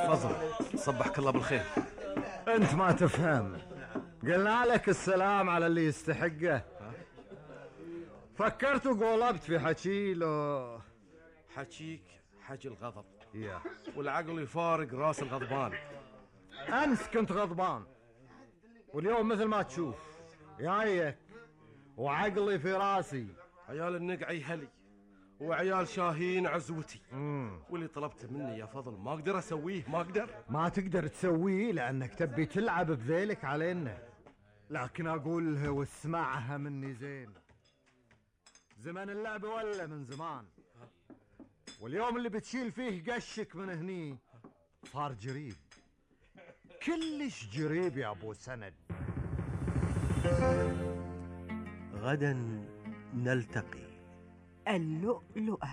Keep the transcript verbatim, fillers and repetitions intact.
فضل صبحك الله بالخير. انت ما تفهم، قلنا لك السلام على اللي يستحقه. فكرت وقولبت في حكي لو حكيك حكي الغضب يا والعقل يفارق راس الغضبان. امس كنت غضبان، واليوم مثل ما تشوف جايك وعقلي في راسي. عيال النقعي هلي وعيال شاهين عزوتي. مم. واللي طلبته مني يا فضل ما اقدر اسويه، ما اقدر. ما تقدر تسويه لانك تبي تلعب بذيلك علينا، لكن اقولها واسمعها مني زين. زمن اللعب ولا من زمان، واليوم اللي بتشيل فيه قشك من هني صار جريب، كلش جريب يا ابو سند. غدا نلتقي. اللؤلؤة.